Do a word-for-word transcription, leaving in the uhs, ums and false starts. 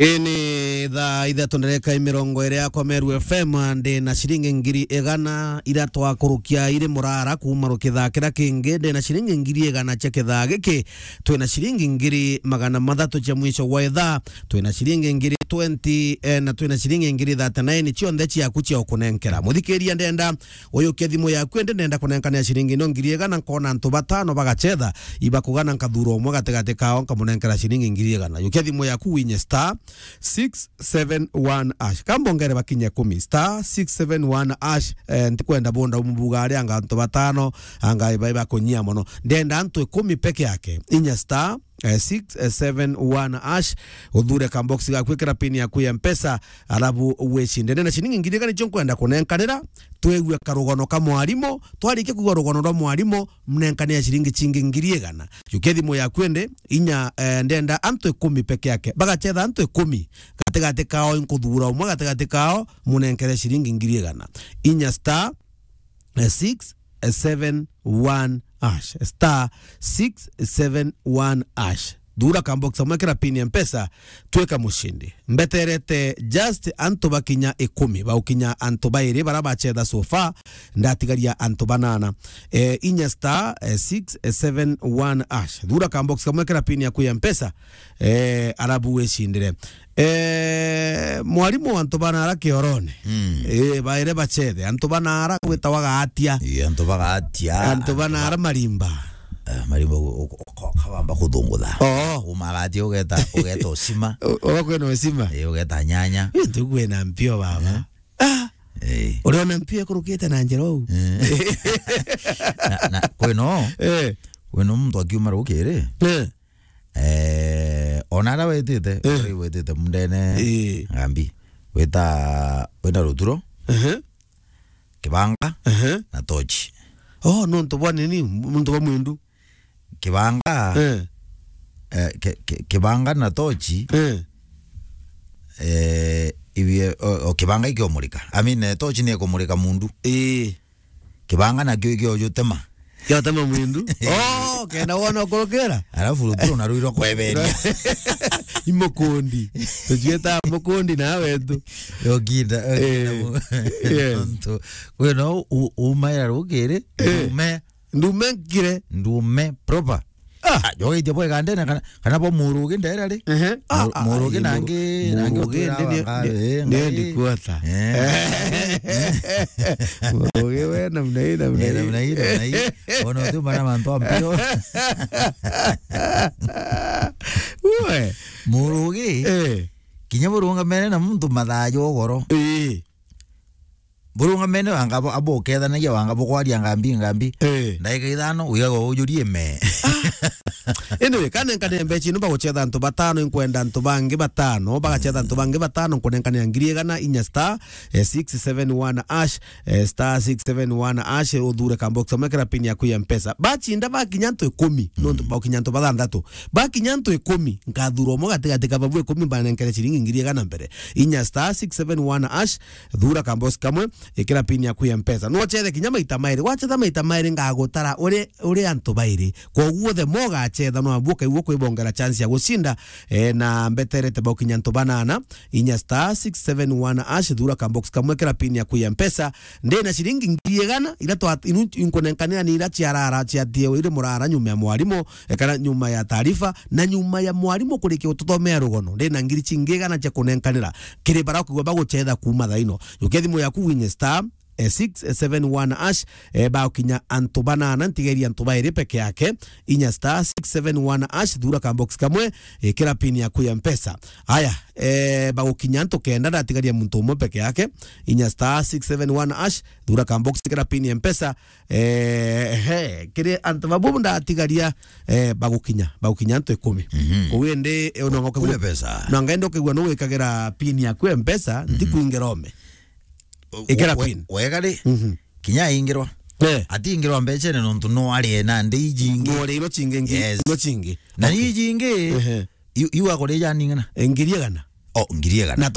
Ii ni thaa ithatu ndereka mirongo iri yakwa Meru F M, ndi na ciringi ngiri igana iria twakurukia iri murara kuuma rukithaa kiria kingi, ndi na ciringi ngiri igana cia kithaa giki, twi na ciringi ngiri magana mathatu cia mwisho wa ithaa, twi na ciringi ngiri twenty, eh, na twi na ciringi ngiri thirty-nine cionthe ciaku cia ukunenkera. Muthikiria, ndenda uyukie thimu yaku, indi ndenda kunenkanira ciringi ino ngiri igana, nkona antu batano bagachetha, ibakugana, nkathura umwe gatigati kao, nkamunenkera ciringi ngiri igana. Yukia thimu yaku, winye star six seven one hash. Kambongere bakinye kumi, star six seven one hash. Eh, ntikwenda bonda umubuga ari anga antu batano, anga iba, iba kunyia mono. Ndenda antu ikumi peke yake. Inya star, eh, six seven one hash. Uthure ka box gaku, ikira pin yaku ya Mpesa, alafu wicinde. Ndenda ciringi ngiri igana nicio nkwenda kunenkanira, twigue karugono ka mwarimu. Twarikia kuigua rugono rwa mwarimu, mnenkanire ciringi cingi ngiri igana. Yukia thimu yaku indi, inya, eh, ndenda antu ikumi peke yake. Bagachetha antu ikumi. Gatigati kao, inkuthuura umwe gatigati kao, munenkere ciringi ngiri igana. Inya star, eh, six seven one hash. Star six seven one hash. Thuura ka box kamwe, ikira pin ya Mpesa, twika mucindi. Mbeterete just antu bakinya ikumi, baukinya antu bairi bara bachetha so far, ndatigaria antu banana. Eh, inya star, eh, six seven one hash. Thuura ka box kamwe, ikira pin yaku ya Mpesa, eh, alafu wicindire. Eh, mwarimu, antu banara kiorone. Mm. Eh, baire bachethe. Antu banara gwitawa gaatia. Ii, antu bagaatia. Antu banara marimba. Eh, marimba u-, u-, u-, ka-, kabamba kuthungutha. Oo. Umagatia ugeta, ugeta ucima. U-, ugakwena ucima. Eh, ugeta nyanya. Ii, ntugu ena mpio baba. Eh. Ah! Eh. Uriona mpio ikurukite na njira uu? Eh. Na, na, kwino, Eh. kwino muntu akiuma rukiri. Eh. Eh, ona ara wetite, Eh. uri wetite mundene, Eh. ngambi. Wita, wina ruturo, Ehe. kibanga, Ehe. na tochi. Oh, nontu bwa nini? Nontu bwa mwindu. Kibanga, Eh. eh, ki-, ki-, kibanga na tochi, Eh. eh, ibie, o, o, kibanga ikiomurika. I mean, eh, tochi ni ikumurika mundu. Eh. Kibanga nakio ikiojutema. Kiotema mwindu. Oh, kenda wona ukurukira. Alafu ruturo na ruirwa kweberia. Imukundi. Tucieta mukundi na wetu. Yokinda, yokinda Eh, mu-, yes. Nontu. Kwino u-, umaira rukiri, Eh. ume. Ndume nkire. Ndume proper. Ah. Ah, jogaitia bwa igandene kana, kana bwa murugi ndera ri? Ehe. Ah, Mu-, ah, murugi ah, nangi, nangi murugi utwira ndi, wanga, ndi, eh, ndi, ngai. Ndi kuota. Eh. Murugi we namna hii, namna Eh, hii. Namna hii, namna hii. Ona uti mara mantu ampio. Uwe. Murugi. Eh. Kinya burungamene na muntu mathaa jogoro. Eh. Burungamene wanga bo-, abukethanagia wanga bukwaria ngambi, ngambi. Eh. Ndagika ithano, wigaga ujurie me. Anyway, kanenkane mbechi ino baguchetha antu batano, inkwenda antu bangi batano, bagachetha antu bangi batano, nkunenkanira ngiri igana, inya star, eh, six seven one hash, eh, star six seven one hash, uthure ka box, mwekera pin yaku ya Mpesa. Bachinda bakinya antu ikumi, nontu baukinya antu bathanthatu. Bakinya antu ikumi, nkathura umwe gatigati ka babu ikumi, banenkere ciringi ngiri igana mbere. Inya star six seven one hash, thura kambosi kamwe, ikira pin yaku ya Mpesa. Nwachethe kinya maita mairi. Wachetha maita mairi, ngagutara uri, uri antu bairi. Kwoguo the more ugachetha, no abu ukaigua kwibongera chance ya gucinda, eh, na mbeterete baukinya antu banana. Inya star six seven one hash, thura kambosi kamwe, ikira pin yaku ya Mpesa. Ndina ciringi ngiri igana, ira twa, inu, inkunenkanira ni ira ciarara, ciatie iri murara nyuma ya mwarimu, eh, kana nyuma ya taarifa, na nyuma ya mwarimu kurikia gututhomea rugono, ndina ngiri cingi igana cia kunenkanira kiri bara ukwigua baguchetha kuuma thaa ino. Jukia thimu yaku winye star, eh, six seven one hash, eh, bagukinya antu banana, ntigeria antu bairi peke yake, inya star six seven one hash, thura kambox kamwe, ikira pin yaku ya Mpesa. Aya, eh, bagukinya antu kenda, ndatigaria muntu umwe peke yake, inya star six seven one hash, thura kambox, ikira pin ya Mpesa, Eh, he, kiri antu babu ndatigaria, eh, bagukinya, bagukinya antu ikumi. Mhm. Koguo indi, eh, no ngoke Kule gwa-, pesa. No ngenda ukigua no wikagira pin yaku ya Mpesa, Mhm. ntikwingira ome. Ikira We-, pin. Wega ri, Mhm. kinya aingirwa. Eh. Atingirwa mbecene nontu no arie na ndi ijingi. No ri ino cingi, ngi-, Yes. ino cingi. Na Okay. ijingi, Ehe. Iu, iu akurija ning'ana? Eh, ngiri igana. Oh, ngiri igana. Na